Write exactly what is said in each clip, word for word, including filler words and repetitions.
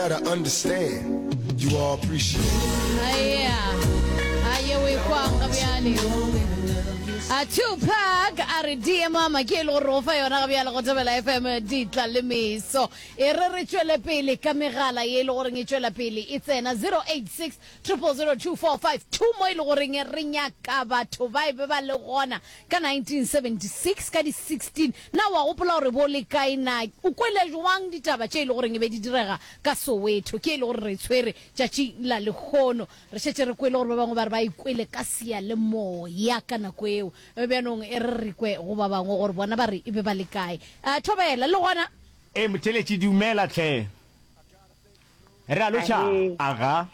gotta understand, you all appreciate it. Aya, a ye o e kwang ga bjale. A Tupac a re D M mama ke e le gore go fa yona ga bjale go Thobela F M ditla le meso. E re re tšwele pele ka megala ye e le goreng e tšwela pele e tsena zero eight six zero zero zero two four five two mo e le goreng re nyaka batho ba e be ba le gona ka nineteen seventy-six ka di sixteen. Na wa gopola gore bo le kae? Na o kwele jwang ditaba tše e le goreng e be di direga ka Soweto? Ke e le gore re tshwere tšatši la lekgono, re šetše re kwele gore ba bangwe ba re ba ikwele ka seyalemoya ka nako eo. Bjanong e re re kwe go ba bangwe gore bona ba re e be ba le kae. uh, thobela le gona. E motheletši, dumela tlhe, re a lotšha. Ahee. Aga.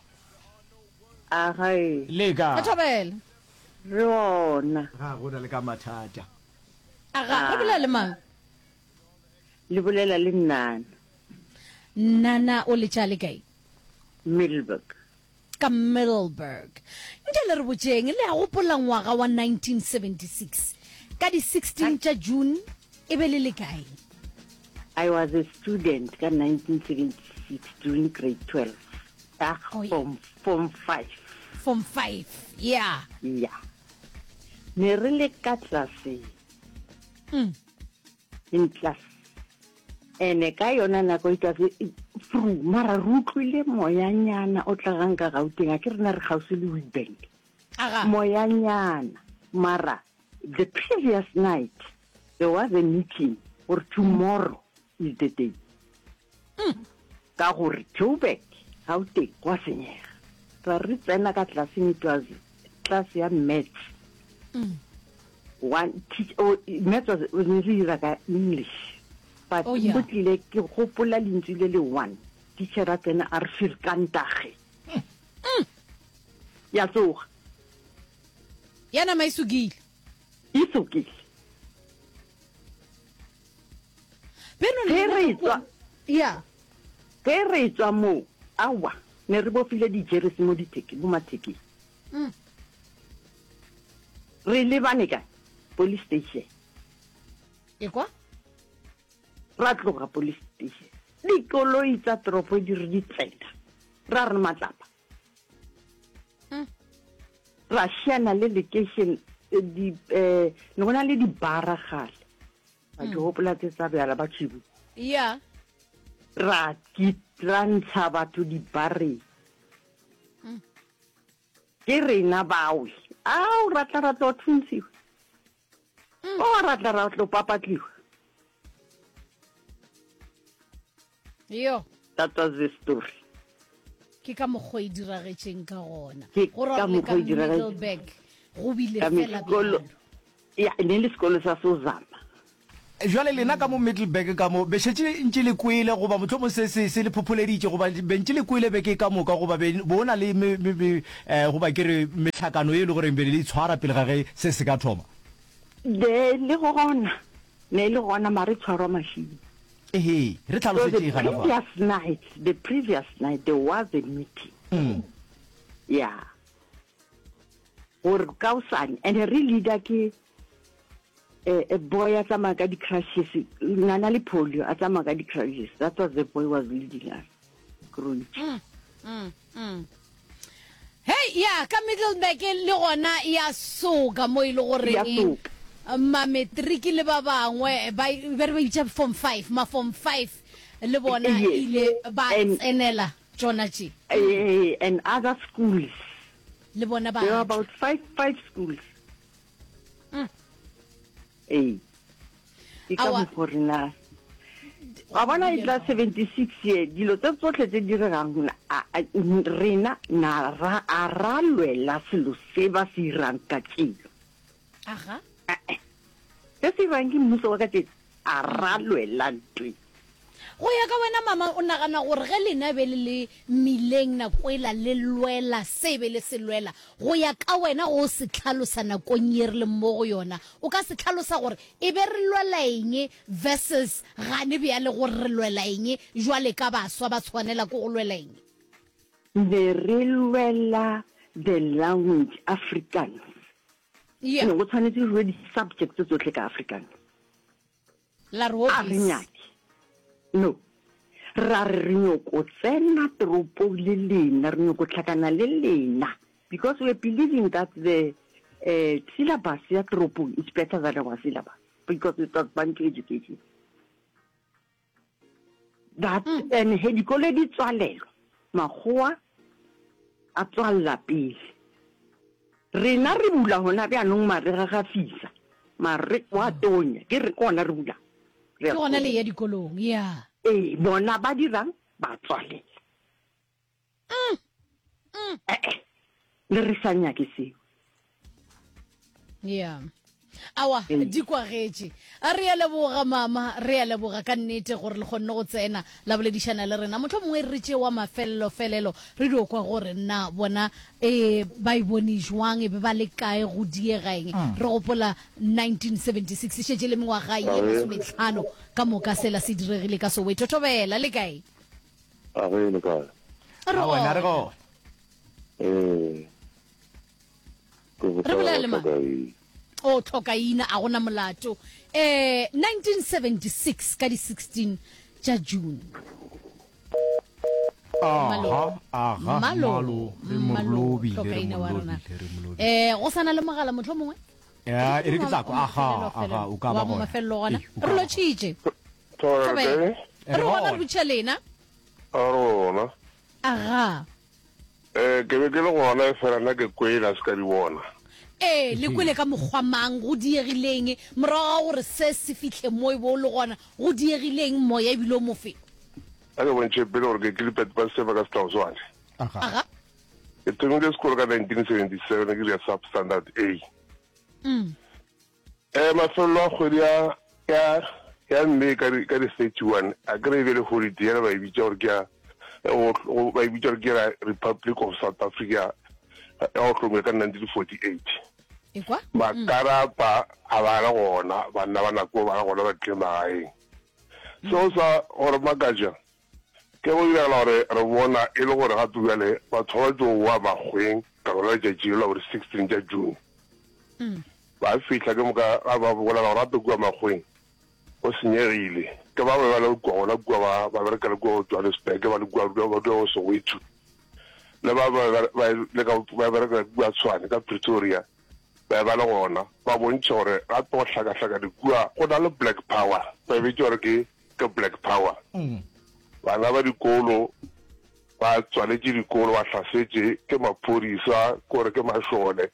Agae. Le ka? Thobela. Re ona. Ga go na le ka mathata. Aga, re bolela le mang? Le bolela le Nnana. Nana, o letša le kae? Middelburg. Ka Middelburg. Nke le re botšeng, le a gopola ngwaga wa nineteen seventy-six ka di sixteen tša June e be le le kae? I was a student ka nineteen seventy-six during grade twelve. Ah, Oh, yeah. form form five. Form five, yeah. Yeah. Ne re le ka tlase. Mm. In class. Ene ka yona nako e tlase fru mara re utlwile moyanyana o tlagang ka Gauteng, a ke rena re kgauswi le Witbank. Aga. Moyanyana, mara the previous night there was a meeting or tomorrow is the day, ka gore Joburg, Gauteng gwa senyega. Ra re tsena ka tlaseng, it was class ya maths. Mm. One teach, oh, maths was ne re dira ka English, but Oh, yeah. go tlile ke gopola lentswe le le one teacher a tsena a re firkantage ya tsoga. Ya nama e sokile. E sokile. Beno. Ge re tswa ya ge re tswa moo, aowa, ne re bofile dijeresi mo ditheke mo mathekeng. Mm. Re lebane kae? Police station. E kwa. Ra tloga police station, dikoloi tsa toropo di re di tsena, ra re matlapa. Mm. Ra šiana le location, eh, di eh ne go na le dibara gale ba ke gopola tse tsa bjala ba tšhibu. Ya ra ki ra ntsha batho dibareng. Mm. Ke rena bawe ao ra tla ra tlo thuntshiwa, Mm. o ra tla ra tlo papatliwa. Yo. That was the story. Ke ka mokgwa e diragetšeng ka gona. Ke go ra ka gore le ka mokgwa e diragetšeng. Middelburg go bile ka fela sekolo bjalo. Ya, ne le sekolo sa Sozama. Jwale lena ka mo Middelburg ka mo be šetše ntše le kwele goba mohlomong se se se le phopholeditše goba be ntše le kwele beke ka moka goba be bo na le me, me, me, eh, goba ke re mehlakano e le goreng be le itshwara pele ga ge se se ka thoma? Ne le gona, ne le gona, mare tshwarwa mašimo. Ehe, re So the tlhalosetše gana fa. previous night the previous night there was a meeting. Mm. Yeah, gore kaosane and re leader ke eh, a boy a tsamaya ka di-crutches, nana le polio, a tsamaya ka di-crutches. That was the boy was leading us Krontši. Mm, mm, mm. Hei, ya ka Middelburg le gona ya soka mo e le Ya goreng soka. Mametriki le ba bangwe ba be re ba bitša form five, ma form five le bona Yes. ile ba And- tsenela tšona tše. Eh, and other schools. Le bona ba There were tla. about five five schools. Mm. Ee, ke ka Aowa. mokgo rena wa bona e tla seventy-six ye dilo tse tsotlhe tse diregang, a- a- rena na ra a ra lwela selo se ba se irang ka tšelo. Aga. Eh, se se irang ke mmuso wa ka tšelo, a ra lwela ntwe. Go ya ka wena mama, o nagana gore ge lena be le le mmileng nako ela le lwela se be le se lwela, go ya ka wena go se tlhalosa nakong ye re leng mo go yona, o ka se tlhalosa gore e be re lwela eng versus gane bjale gore re lwela eng jwale ka baswa ba tshwanela ke go lwela eng? Ne re lwela the language Afrikaans. Yeah ne go tshwanetse re rue di-subject tse tsotlhe ka Afrikaans. La re A re hobbies. Nyake no Ra re re nyoko tsena toropong le lena, re nyoko hlakana le lena, because we are believing that the uh, syllabus ya toropong is better than our syllabus, because it was Bantu education. That, mm. and he dikolo di tswalelwa, makgowa a tswalla pele. Rena re bula hona bjanong marega ga fisa, mare wa tonya, ke re ke gona re bula. Ke gona le ya dikolong, ya. Ee, bona ba dirang ba tswalela. Mm. Mm. Eh, eh, le re sa nyake seo. Yeah. Awa, di kwagetše. A re a leboga mama, re a leboga ka nnete gore le kgonne go tsena la boledišana le rena. Mohlomongwe re tše wa mafelelo-felelo re dio kwa gore na bona e ba e bone jwang, e be ba le kae, go diega eng. Re gopola nineteen seventy-six, e šetše le mengwaga ye masometlhano ka moka sela se diregile ka Soweto. Thobela, le kae? A re le kae? Re Awa, na re gona. gona. Eh. Re bolela le mang? O tlhokaina, a gona molato. Eh, nineteen seventy-six ka di sixteen tša June. Aha, aha, Malo, malo, re malo, mo lobile, re tlhokaina mo wa rena. lobile, re mo lobile. Eh, go sana le mogala mohlomongwe? Ya, e re ke tla kwa, aha, Mafelelo, aha, o ka ba wa mo gona. mafelelo gona. Ee, o ka Re ba lotšhitše. Thobela, Thobela. kae? Re Re gona, gona. re botšiša lena. A re gona. Aga. Eh, ke be ke le gona, fela nna ke kwele, a se ka di bona. Ee, le kwele ka mokgwa mang, go diegileng morago ga gore se se fihle mo e bo le gona, go diegileng moya ebile o mofe? A ke bontšhe pele gore ke Gilbert ba Seba ka Setlaoswane. Aga. Aga. Ke thomile sekolo ka nineteen seventy-seven, ke dira substandard A. Mm. Eh, mafelelo a kgwedi ya, ya, ya May ka di, ka di thirty-one, a kry-e be le holiday, ya ba e bitša gore ke ya, ya go, go, ba e bitša gore ke ya Republic of South Africa, ya go hlomile ka nineteen forty-eight. Ekwa? Makarapa a ba le gona, banna ba nako ba le gona ba tlile magaeng. Seo sa gore makatša ke go diragala gore re bona e le gore gape bjale batho ba tlo boa makgweng ka lona letšatši la gore sixteen tša June. Mm. Ba fihla ke moka ga ba bolela gore gape kua makgweng go senyegile. Ke ba ba le kua gona kua ba, ba bereka le kua Johannesburg, ba le kua, ba dula go Soweto. Le ba ba, ba, ba, le ka, ba bereka kua Tshwane ka Pretoria, ba ba le gona, ba bontšha gore gape go hlakahlakane kua go na le Black Power, ba bitša gore ke, ke Black Power. Mm. Bana ba dikolo ba tswaletše dikolo, ba hlasetše ke maphodisa, kore ke mašole,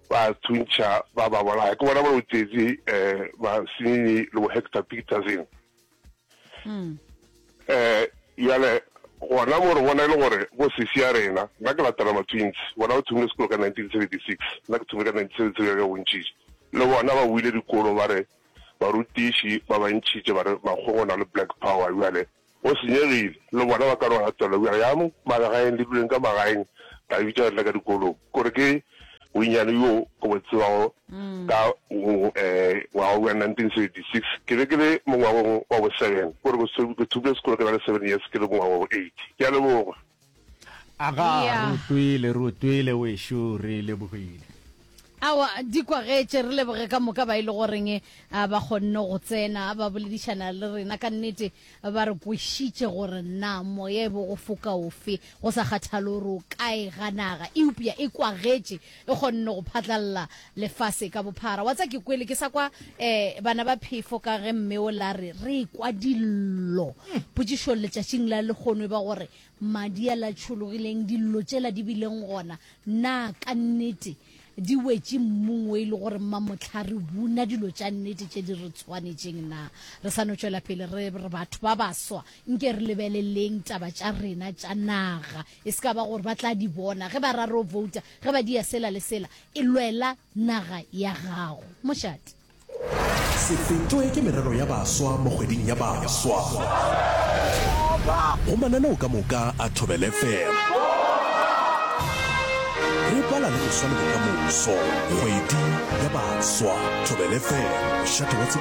ba thuntšha ba ba bolaya. Ke bona ba o tšetše, eh, ba Sinini le bo Hector Peterson. Mm. Eh, jale gona mo re bona e le gore bo sesi ya rena, nna ke latela ma-twins, bona ba thomile sekolo ka nineteen seventy-six, nna ke thomile ka nineteen seventy-six ka bontšhitše. Le bona ba buile dikolo ba re barutiši ba ba ntšhitše ba re makgweng o na le Black Power, jale go senyegile. Le bona ba ka no latela bjale ya mo magaeng, le duleng ka magaeng, la bitša le ka dikolong. Kore ke bonnyane yo ke bo tsebago ka, eh, ngwaga wa nineteen seventy-six, ke be ke le mo ngwageng wa bo seven, kore ke so-, ke thomile sekolo ke na le seven years, ke le mo ngwageng wa bo eight. Ke a leboga. Aga, Yeah. re utlwile, re utlwile wešo, re lebogile. Awa, di kwagetše, re leboge ka moka ba e le goreng, a, ba kgonne go tsena, ba boledišana le rena ka nnete, ba re kwešitše gore na moya e bo go foka ofe, go sa kgathale gore o kae ga naga, eupša e kwagetše, e kgonne go phatlalla lefase ka bophara. Wa tsa ke kwele ke sa kwa, eh, bana ba phefo ka ge mme o la re, re kwa dillo. Potšišo letšatšing la lekgono e ba gore madi a la tšhologileng, dillo tšela di bileng gona, na ka nnete di wetše mmung o e le gore mmamohla re buna dilo tša nnete tše di re tshwanetšeng na? Re sa no tšwela pele re re batho ba baswa, nke re lebeleleng taba tša rena tša naga, e se ka ba gore ba tla di bona ge ba ra ro vouta, ge ba dia sela le sela, e lwela naga ya gago. Mošate. Se fetwe ke merero ya baswa mo kgweding ya baswa. Go mananeo ka moka a Thobela F M. Re bala le go swa le bokamoso. Kgwedi ya baswa. Thobela F M, mošate wa tsebo.